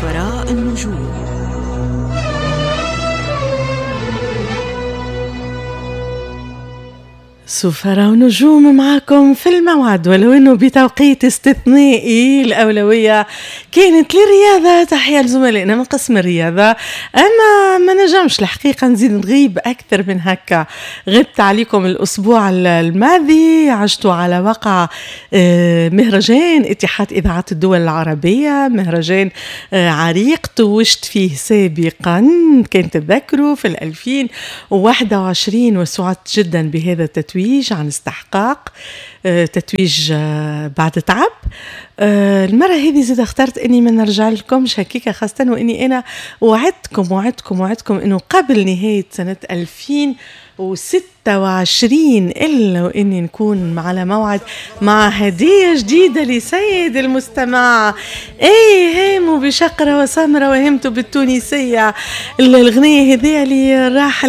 سفراء النجوم. سفراء ونجوم معاكم في الموعد، ولو انه بتوقيت استثنائي. الاولوية كانت للرياضة، تحية لزملائنا من قسم الرياضة، اما ما نجمش الحقيقة نزيد نغيب اكثر من هكا. غبت عليكم الاسبوع الماضي، عشت على وقع مهرجان اتحاد اذاعات الدول العربية، مهرجان عريق توجت فيه سابقا كان تتذكروا في 2021، وسعدت جدا بهذا التتويج عن استحقاق، تتويج بعد تعب. المرة هذه زاد اخترت اني ما نرجع لكمش هكيكا، خاصة واني انا وعدتكم وعدتكم وعدتكم انه قبل نهاية سنة 2026 الا واني نكون على موعد مع هدية جديدة لسيد المستمع. اي هاموا بشقرة وسمرة وهمتوا بالتونسية. الغنية هذه اللي راح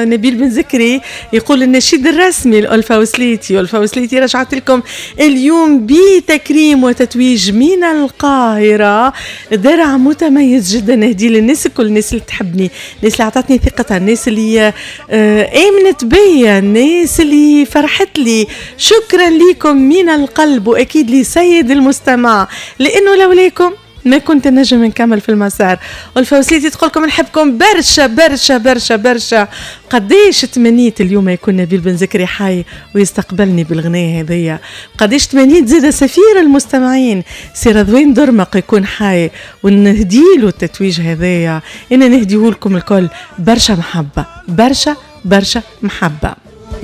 نبيل بن زكري يقول النشيد الرسمي لألفة وسليتي. ألفة وسليتي رجعت لكم اليوم بتكريم وتتويج من القاهرة، درع متميز جدا نهدي للناس كل، الناس اللي تحبني، الناس اللي عطتني ثقتها، الناس اللي آمنت بيا، الناس اللي فرحت لي. شكرا لكم من القلب، وأكيد لسيد المستمع، لأنه لولاكم ما كنت نجم نكمل في المسار. ألفة وسليتي تقولكم نحبكم برشا برشا برشا برشا. قديش تمنيت اليوم يكون نبيل بن زكري حي ويستقبلني بالغناية هذيا. قديش تمنيت زاد سفير المستمعين سي رضوان درمق يكون حي ونهديله التتويج هذايا. انا نهديه لكم الكل برشا محبة، برشا برشا محبة.